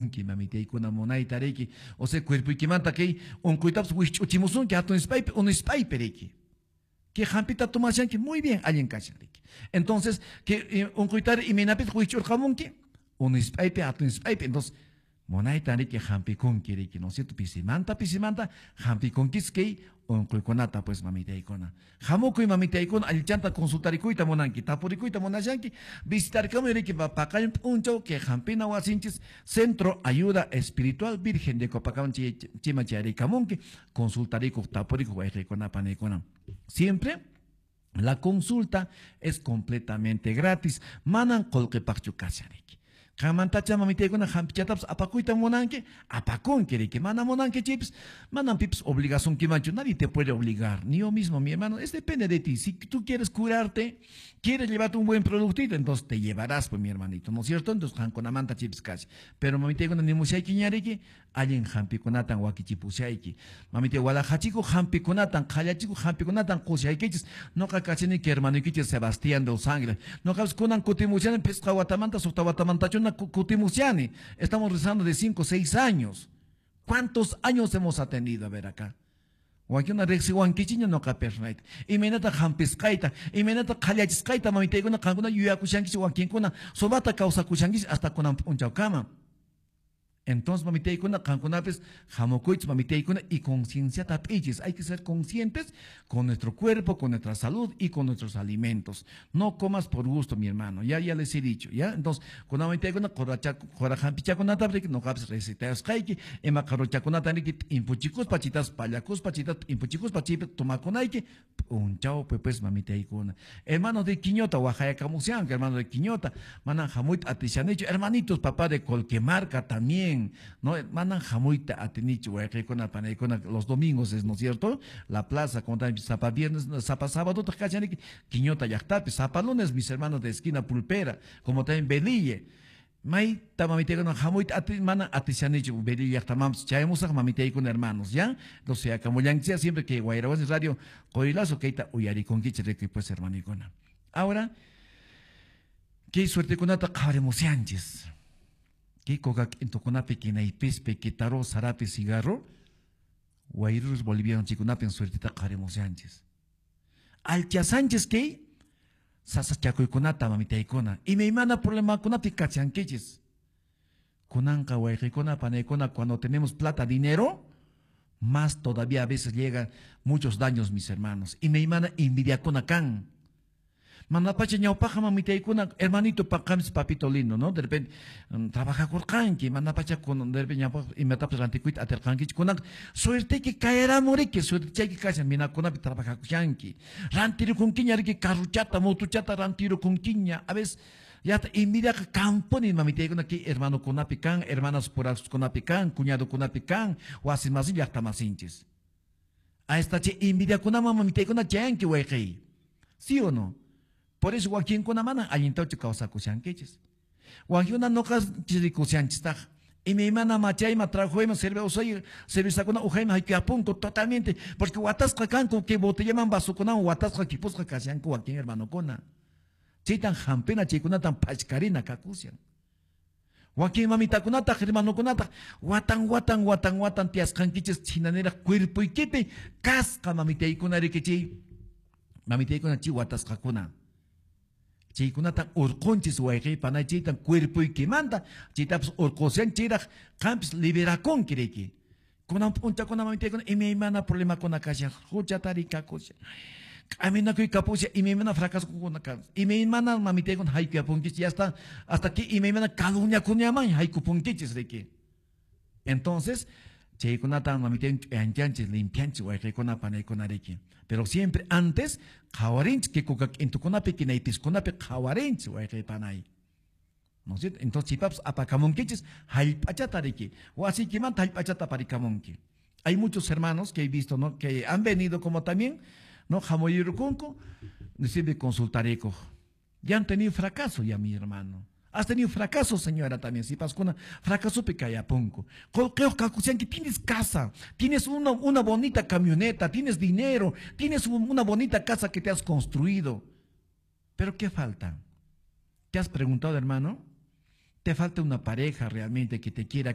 hampikunki, mamitaykuna, munayta riki. O sea, cuerpoykimanta kay unquytapas wikch'uchimusunki hatun ispaypi, unu ispaypi riki. Que hampita tomashanki muy bien allin kashan riki. Entonces, que unquytari imaynapitaq wikch'urqamunki? Unu ispaypi, hatun ispaypi. Entonces, munayta riki hampikunki riki, ¿no es cierto? Pisimanta, pisimanta hampikunkis kay unquykunata pues mamitaykuna. Hamukuy mamitaykuna allichanta consultarikuyta munanki, tapurikuyta munashanki, visitarkamuy riki paqarin p'unchaw kay hampina wasinchis Centro Ayuda Espiritual Virgen de Copacabana chima chayarikamunki, consultarikuq, tapurikuq wayqiykuna panaykuna. Siempre la consulta es completamente gratis, manan qullqipaqchu kashan riki. Qanmantacha mamitaykuna hampichatapas apakuyta munanki, apakunki riki. Mana munanki chaypis, manan pipis obligasunkimanchu, nadie te puede obligar, ni yo mismo, mi hermano, es depende de ti. Si tú quieres curarte, quieres llevarte un buen productito, entonces te llevarás, pues, mi hermanito, ¿no es cierto? Entonces qankunamanta chaypis kashan. Pero mamitaykuna nimushaykiña riki, allin hampikunatan wakichipushayki. Mamitay walaqachikuq hampikunatan, qhallachikuq hampikunatan qushaykichis. Noqa kachani hermanoykichis Sebastián de Los Ángeles. Noqapis kunan kutimushani pisqa watamanta, suqta watamantachuna kutimushani. Estamos rezando de 5 o 6 años. ¿Cuántos años hemos atendido? A ver acá. Wakinkuna riqsiwankichikña noqa personayta. Imaynata hampisqayta, imaynata qhallachisqayta mamitaykuna qankuna yuyakushankichik wakinkuna sumaqta kawsakushankichik hasta kunan p'unchawkama. Entonces, mamitaykuna, qankunapis hamukuychis mamitaykuna y concienciata hap'iychis. Hay que ser conscientes con nuestro cuerpo, con nuestra salud y con nuestros alimentos. No comas por gusto, mi hermano. Ya, ya les he dicho, ¿ya? Entonces, con mamitaykuna, qura hampichakunata riki, noqapis recetasqayki, ima qaruchakunata riki, t'impuchikuspa, chitas pallakuspa, chitas t'impuchikuspa, chaypi tomakunayki, p'unchawpi pues mamitaykuna. Hermanos de Quiñota, waqayakamushanku, hermano de Quiñota, manan hamuyta atishanichu. Hermanitos, papá de Colquemarca también, ¿no? Manan hamuyta atinichu, wayqiykuna, panaykuna, los domingos es, ¿no es cierto? La plaza, como también sapa viernes, sapa sábado, kachaniki, Quiñota llaqtapi, sapa lunes, mis hermanos de esquina Pulpera, como también Belille. Mayta mamitaykuna hamuyta ati, manan atishanichu, Belille llaqtamanpis chayamusaq mamitaykuna hermanos, ¿ya? Entonces, akamullanchik siempre que Wayrawasi Radio, qoylazo kayta uyarikunkichik rikuy pues hermanikuna. Ahora, kay suertekunata qhawarimushanchis. Kay coca k'intukunapi kinaypispi, kitaro, sarapi, cigarro, wayrurus boliviano chikunapi suerteta qhawarimushanchis. Alchasanchis kay sasachakuykunata mamitaykuna, imaymana problemakunapi kachankichis. Kunanqa wayqiykuna, panaykuna, cuando tenemos plata, dinero, más todavía a veces llegan muchos daños, mis hermanos. Imaymana envidiakuna kan. Manapacha ñawpaqa mamitaykuna, hermanito paqamis papito lindo, ¿no? De repente, trabajakurqanki, manapacha kun, de repente ñawpaq imatapas rantikuyta atirqankichu. Kunan suerteyki kayaramuriki, suertechayki kashan, minakunapi trabajakushanki. Rantirukunkiña riki carruchata, motuchata rantirukunkiña. A veces yata envidiaqa kanpuni mamitaykuna kay hermanokunapi kan, hermanas puraskunapi kan, cuñadokunapi kan, wasimasin llaqtamasinchis. A esta chay envidiakunaman mamitaykuna chayanki wayqiy. ¿Sí o no? Por eso wakinkuna manan allintachu kawsakushankichis. Wakinkuna noqa chirikushanchistaq. Imaymana machayma, trajoyma, cerveza, cervezakuna ujayma haykuyapunku totalmente. Porque watasqa kanku kay botellaman vasokunawan watasqa kipusqa kashanku wakin hermanokuna. Chaytan hampina, chaykunatan pachkarina kakushan. Wakin mamitakunataq, hermanokunataq, watan, watan, watan, watan tiyasqankichis chinaniraq cuerpoykipi kasqa mamitaykuna rikichiy. Mamitaykuna chay watasqakuna. Chaykunatan urqunchis wayqiy panay, chaytan cuerpoykimanta, chaytapas urqushan chayraq qampis liberakunki riki. Kunan p'unchakuna mamitaykuna imaymana problemakuna kashan, huchata rikakushan. K'aminakuy kapusha, imaymana fracasokuna kan. Imaymana mamitaykuna haykuyapunkichis, ya está, hasta que imaymana calumniakunaman haykupunkichis riki. Entonces, chaykunatan mamitaykuna ch'uyanchanchis, limpianchis wayqiykuna panaykuna riki. Pero siempre antes, qhawarinchis kay coca k'intukunapi, kinaypiskunapi qhawarinchis wayqiy panay. ¿No es cierto? Entonces, chaypapas apakamunkichis hallp'achata riki. Wasiykimanta hallp'achata aparikamunki. Hay muchos hermanos que he visto, ¿no? Que han venido como también, ¿no? Hamuyurukunku, siempre consultarikuq. Ya han tenido fracaso ya, mi hermano. Has tenido fracaso, señora, también. Si pascuna, fracaso picayapunco. Que tienes casa, tienes una bonita camioneta, tienes dinero, tienes una bonita casa que te has construido. Pero ¿qué falta? ¿Te has preguntado, hermano? Te falta una pareja realmente que te quiera.